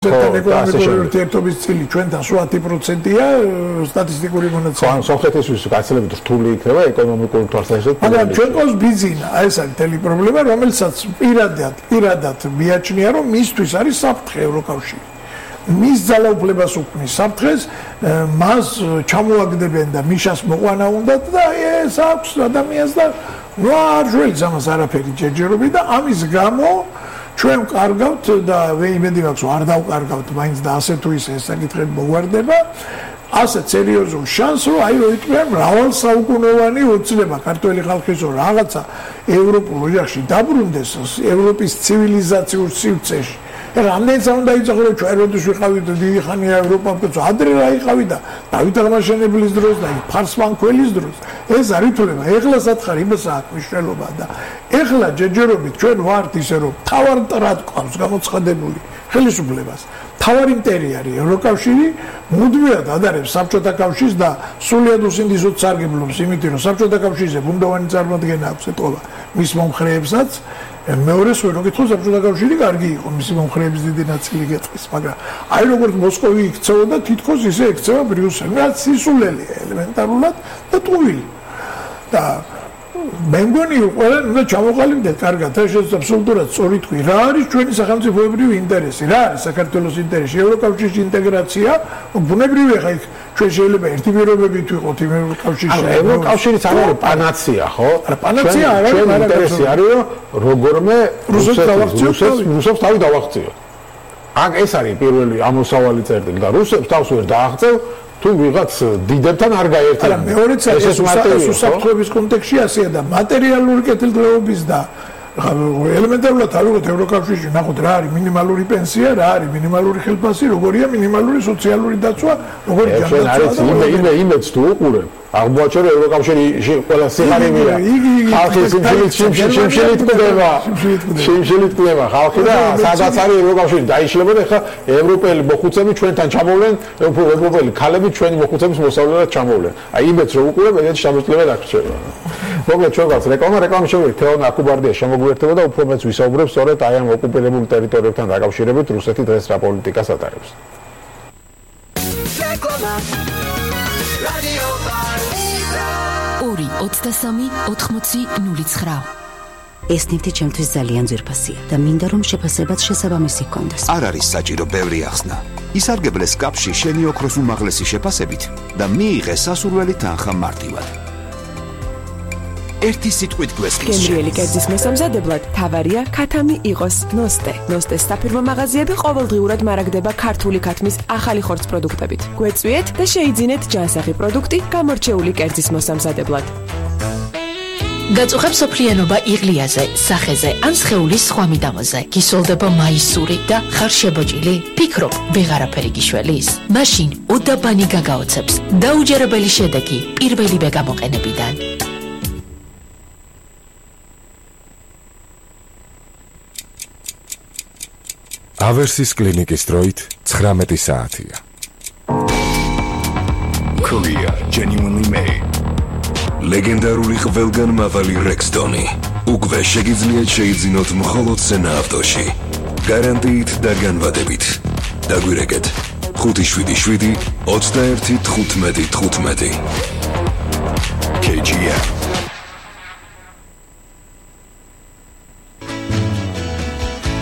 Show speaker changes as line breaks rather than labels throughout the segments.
ეკონომიკური ურთიერთობის წილი ჩვენთან 8%-ია სტატისტიკური მონაცემები.
სომხეთისთვის გაცილებით რთული იქნება ეკონომიკური თვალსაზრისით.
მაგრამ ჩვენ ყავს ბიზინა, ეს არის თელი პრობლემა, რომელსაც პირადად მიაჩნია, რომ მისთვის არის საფრთხე ევროკავშირი. მის ძალაუფლებას უქმნის საფრთხეს, მას ჩამოაგდებენ და მიშას მოყვანა უნდათ და ეს აქვს ადამიანს და არ ჟველს ამას არაფერი ჯერჯერობით და ამის გამო ჩვენ ვკარგავთ და იმედი მაქვს არ დავკარგავთ მაინც და ასე თუ ისე ეს საკითხები მოგვარდება ასე სერიოზულ შანსს რომ აი რომ იტყვიან მრავალსაუკუნოვანი ოცნება ქართველი ხალხის რომ რაღაცა ევროპულ ოჯახში დაბრუნდეს ევროპის ცივილიზაციურ სივრცეში რამდენიც უნდა იცოცხლო რომ ჩვენ როდის ვიყავით დიდი ხანია ევროპაში ადრე რა იყავი და დავით აღმაშენებლის დროს და ფარსმანქველის დროს ეს არ ითვლება ეხლა სათხარი იმასაა მნიშვნელობა და ეხლა ჯერჯერობით ჩვენ ვართ ისე რომ თავარ მტრად ყავს გამოცხადებული ხელისუფლებას თავარი მტერი არის ევროკავშირი მუდმივად ადარებს საბჭოთა კავშირს და სულიად უსინდისოდ სარგებლობს იმით რომ საბჭოთა კავშირზე ბუნდოვანი წარმოადგენა აქვს ეთყობა მის მომხრეებსაც მეორეს ვერ გითხო საბჭოთა კავშირი კარგი იყო მისი მომხრეების დიდი ნაწილი გეტყვის მაგრამ აი როგორც მოსკოვი იქცეოდა თითქოს ისე ექცევა ბრიუსელი რაც სისულელია ელემენტარულად და ტყუილი და მე მგონი ყველანი უნდა ჩამოყალიბდეთ კარგად ეს აბსოლუტურად სწორი თქვი რა არის ჩვენი სახელმწიფოებრივი ინტერესი რა არის საქართველოს ინტერესი ევროკავშირის ინტეგრაცია ბუნებრივია ხა იქ ჩვენ შეიძლება ერთი პირობებით ვიყოთ იმ ევროკავშირში
ევროკავშირიც არ არის პანაცია ხო
არა პანაცია არ არის
მაგრამ ინტერესი არის რომ როგორმე რუსებს თავი დავაღწიოთ აქ ეს არის პირველი ამოსავალი წერტილი და რუსებს თავს ვერ დააღწევ თუ ვიღაც დიდებთან არ გაერთიანდა.
არა, მეორეც ეს უსაფრთხოების კონტექსტში ასეა და მატერიალური კეთილდღეობის და ელემენტარულად ავიღოთ ევროკავშირში, ნახოთ რა არის მინიმალური პენსია, რა არის მინიმალური ხელფასი, როგორია მინიმალური სოციალური დაცვა, როგორი
ჯანდაცვა. იმედს თუ უყურებ, აღმოაჩენ რომ ევროკავშირში ყველა სიღარიბეა. ხალხის სიმშილით კვდება ხალხი და სადაც არის ევროკავშირი დაიშლებოდა, ეხლა ევროპელი მოხუცები ჩვენთან ჩამოვლენ, ევროპელი ქალები ჩვენი მოხუცების მოსავლელად ჩამოვლენ. აი იმედს რომ უყურებ, ეგეთი შემოწმება დაგრჩება. მოკლედ ჩვენ გვაქვს რეკლამის შემოგვიყვეთ თეონ აკუბარდია შემოგვიერთება და უფრო მეც ვისაუბრებ სწორედ აი ამ ოკუპირებულ ტერიტორიებთან დაკავშირებით რუსეთი დღეს რა პოლიტიკას ატარებს.
ორი 23-80-09
ეს ნივთი ჩემთვის ძალიან ძვირფასია და მინდა რომ შეფასებაც შესაბამისი ჰქონდეს.
არ არის საჭირო ბევრი ახსნა. ისარგებლეს კაფში შენი ოქროს უმაღლესი შეფასებით და მიიღე სასურველი თანხა მარტივად. ერთი სიტყვით გვესმის.
გემრიელი კერძის მოსამზადებლად თავარია ქათამი იყოს ნოსტე. ნოსტეს საფირმო მაღაზიები ყოველდღიურად მარაგდება ქართული ქათმის ახალი ხორცს პროდუქტებით. გვეწვიეთ და შეიძინეთ ჯანსაღი პროდუქტი გამორჩეული კერძის მოსამზადებლად.
გაწუხებს სოფლიანობა იღლიაზე, სახეზე ან სხეულის სხვა მიდამოზე. გისოლდება მაისური და ხარ შებოჭილი? ფიქრობ, ვეღარაფერი გიშველის? მაშინ უდაბანი გაგაოცებს. დაუჯერებელი შედეგი პირველივე გამოყენებიდან.
ავერსის კლინიკის დროით 19 საათია.
Korea genuinely made. ლეგენდარული ყველგანმავალი Rexdoni. უკვე შეგიძლიათ შეიძინოთ მხოლოდ სენა ავტოში. გარანტიით და განვადებით. დაგვირეკეთ 577 21 15 15. KGM.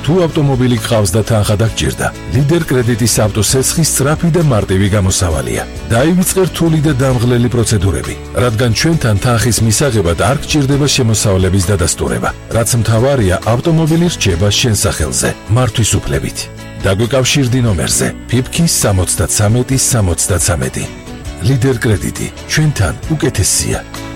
თუ ავტომობილი გყავს და თანხა დაგჭირდა, ლიდერ კრედიტის ავტოსეცხის სწრაფი და მარტივი გამოსავალია. დაივიწყე რთული და დამღლელი პროცედურები, რადგან ჩვენთან თანხის მისაღებად არ გჭირდება შემოსავლების დადასტურება, რაც მთავარია ავტომობილი რჩება შენ სახელზე, მართვის უფლებით. დაგვეკავშირდი ნომერზე PIPK 73-73. ლიდერ კრედიტი, ჩვენთან უკეთესია.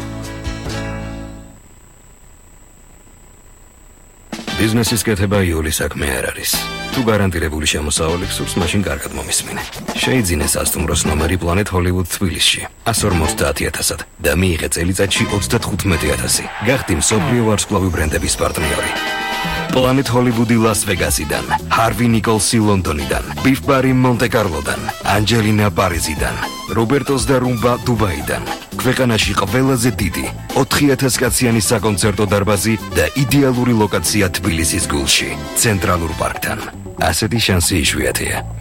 ბიზნესის კეთება იული საქმე არ არის. თუ გარანტირებული შემოსავალი გსურს, მაშინ კარგად მომისმინე. შეიძინე სასტუმროს ნომერი Planet Hollywood თბილისში 150,000-ად და მიიღე წელიწადში 35,000. გახდი მსოფლიო ვარსკვლავი ბრენდების პარტნიორი. Planet Hollywood-ი ლას-ვეგასიდან, Harvey Nicholsი ლონდონიდან, Biff Barry მონტე-კარლოდან, Angelina პარიზიდან, Robertos და Rumba დუბაიდან. ქვეყანაში ყველაზე დიდი 4000 კაციანი საკონცერტო დარბაზი და იდეალური ლოკაცია თბილისის გულში, ცენტრალურ პარკთან. ასეთი შანსი იშვიათია.